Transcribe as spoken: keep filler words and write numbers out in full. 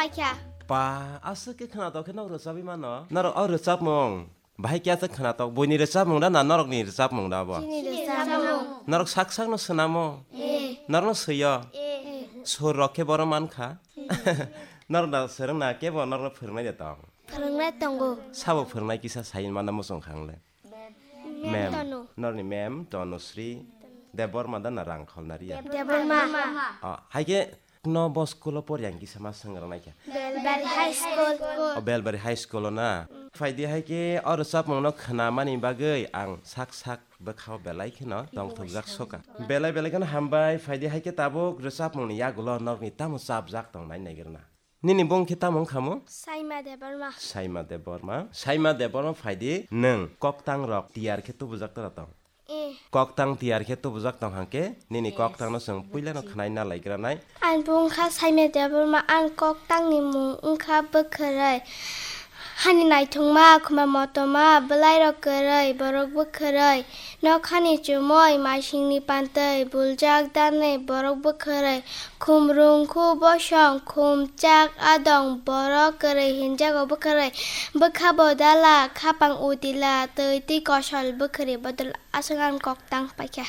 Paikha. Pa, aswk khe khwnatok khe nok rwchabwi mano. Norok o rwchapmung bahai khe aswk khwnatok, buini rwchapmung da na norokni rwchapmung da bo? Chini rwchapmung. Norok sak sakno swnamo? Eh. Norokno swiyo? Eh. Sur rok khe bono mankha? Norok da swrwngna kebo norokno phwrwngnai de tong? Phwrwngnai tongo. Sabo phwrwngnai kisa sai manna muchung kha ang le. Mem. Mem. Tanu. Norni mem Tanusri Debbarma da na Rangkhol Naria? Debbarma. Ah, hai khe no bo school o pori ang kisa ma swngrwng nai kha. Belbari High School. O Belbari High School o na. Phaidi hai khe o rwchapmung no khwnamani bagwi ang sak sak bwkhao belai kheno tongthokjak soka. Belai belai kheno hambai, phaidi hai khe tabuk rwchapmung ni yagulo norokni tamo chapjak tong nai naigrwna. Nini bung khe tamo wngkha mo? Saima Debbarma. Saima Debbarma. Saima Debbarma phaidi nwng koktang rok tiyar khe tubujak tora tong. Eh. Koktang tiyar khe tubujak tong hangke nini koktang no chwng puila no khwnai na laigra nai. Ang bung kha Saima Debbarma, ang koktang ni mung wngkha bwkhwrwi. Hani naithokma, khuma motoma, bwlairok kwrwi, borok bwkhwrwi, nokhani chumui, maisingni pantwi, buljak danwi, borok bwkhwrwi, khum rungkhu bosong, khum chak adong, borok kwrwi hinjago bwkhwrwi, bwkha bodala, khapang utila, twi twi kosol bwkhwrwi bodol aswk ang koktang paikha.